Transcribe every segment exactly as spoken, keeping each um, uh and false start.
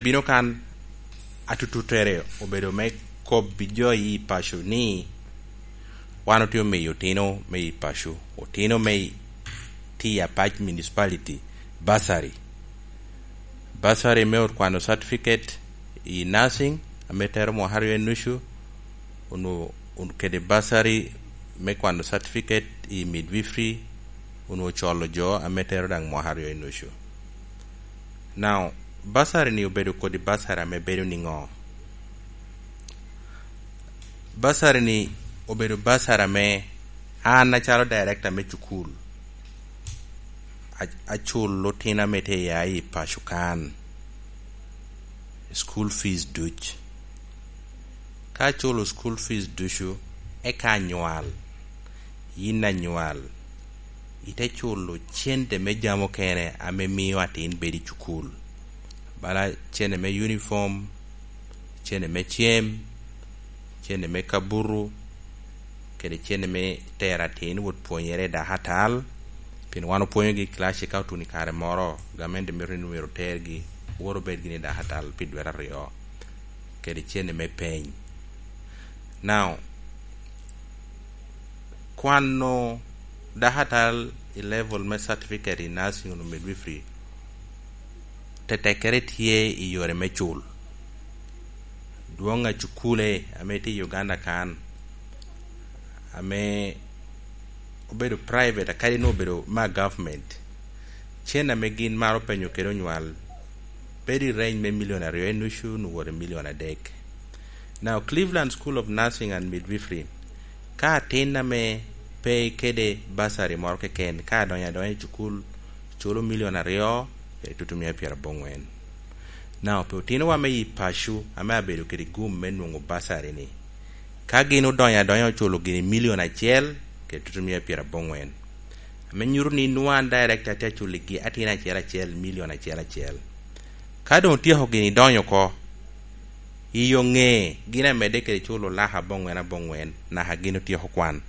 Bino kan atututtere obedo me kobbi jo i paco ni wan otye omiyo otino me i paco, otino me i-, tye i Apac Municipality, bursary. Bursary me ot kwano certificate i nursing, ame tero mwaka aryo i nucu, onwo-, on-, kede bursary me kwano certificate i midwifery, onwo colo jo ame tero daŋ mwaka aryo i nucu. Now, bursary ni obedo kodi bursary ame bedo niŋo? Bursary ni obedo bursary ame an acalo director me cukul, a-, aculo otino ame tye ya i paco kan, school fees duc. Ka aculo school fees ducu, eka anywal, yin anywal, ite culo cente me jami okene ame mio atin bedo i cukul, bala cene me uniform, cene me cem, cene me kabutu, kede cene me tero atin wot pwonyere i dakatal, pien wan opwonyogi i kilaci ka otuno i kare moro, gamente mito ni myero otergi, wot obed gini i dakatal pi dwe aryo, kede cene me peny. Now, kwano dakatal i level me certificate i nursing onyo midwifery, tetekkere tye i yore me cul. Dwoŋ a cukule ame tye i Uganda kan, ame obedo private, akadi nwoŋo obedo ma government, cen ame gin maro penyo kede onywal bedo i range me milion aryo i nucu nwoŋo wot i milion adek. Now, Cleveland School of Nursing and Midwifery, ka atin ame pe kede bursary moro keken, ka adonyo adonya i cukul, culo milion aryo, kede tutumia pyeraboŋwen. Now, pi otinowa me yi paco ame abedo kede gum me nwoŋo bursary ni, ka gin odonyo adonya oculo gini milion acel, kede tutumia pyeraboŋwen, ame nyuto ni nwoŋo an director atye aculo gi atin acel acel milion acel acel. Ka doŋ otyeko gini donyo oko, i yo ŋe gin amedde kede culo laka aboŋwen aboŋwen, naka gin otyeko kwan.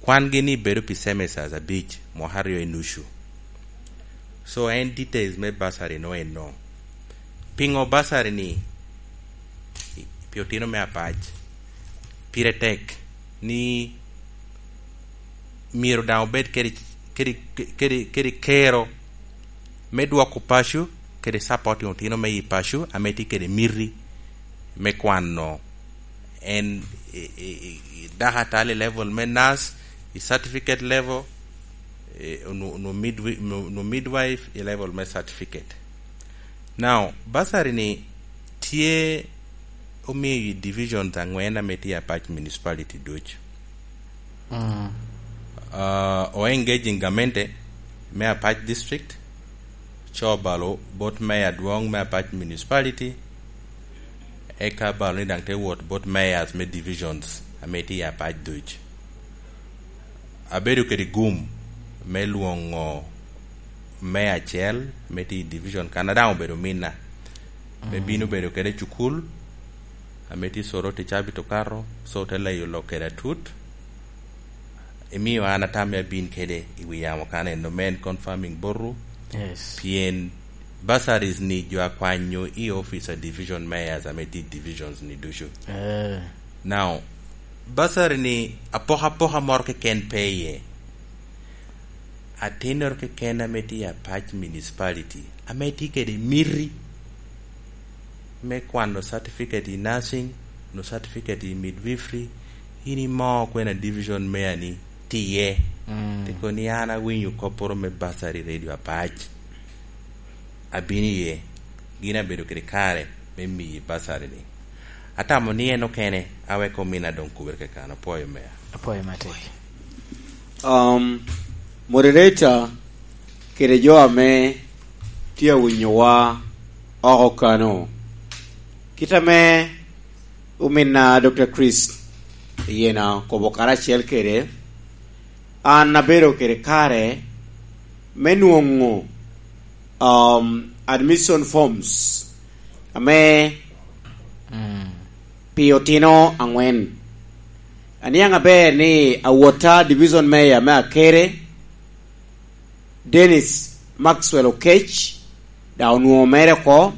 Kwan gini bedo pi semesters abic, mwaka aryo i nucu. So, en details me bursary no eno. Piŋo bursary ni pi otino me Apac pire tek ni myero daŋ obed kede, kede, kede, kede kero me dwoko paco, kede supporting otino me i paco ame tye kede miti me kwano en i, i, i, i dakatal i level me nurse, i certificate level, i, nu, nu midwi-, nu, nu midwife i level me certificate. Now, bursary ni tye omio i divisions aŋwen ame tye i Apac Municipality duc. Mm. Ah, o engaging gamente me Apac District, co balo bot mayor adwoŋ me Apac Municipality, eka balo ni daŋ te wot bot mayors me divisions ame tye i Apac duc. Abedo kede gum me lwoŋo mayor acel me tye i division kan, a daŋ obedo minna, me, mm, bino bedo kede cukul, ame tye Soroti cabit okato, so te leyo lok kede atut. Imio an atam me abin kede i wi yamo kan eno, me en confirming botu. Yes. Pien bursaries ni jo akwanyo i office a division mayors ame tye i divisions ni ducu. Eh. Now, bursary ni apokapoka moro keken pe iye. Atinnoro keken ame tye i Apac Municipality, ame tye kede miti me kwano certificate i nursing, no certificate i midwifery, in imo kwena division mayor ni tye iye. Mm. Te kono ni an awinyo kopporo me bursary Radio Apac. Abino iye, gin abedo kede kare me miyi bursary ni. Atamo ni en okene, awek omina doŋ kubere kekano. Apwoyo mea. Apwoyo matek. Um, moderator kede jo ame tye awinyowa oko kano. Kit ame ominna Doctor Chris Yena okobo karacel kede, an abedo kede kare me nwoŋo, um, admission forms ame, mm, pi otino aŋwen. Aniaŋ aber ni awotta division mayor me Akere, Dennis Maxwell Okech, daŋ onwoŋo mere oko,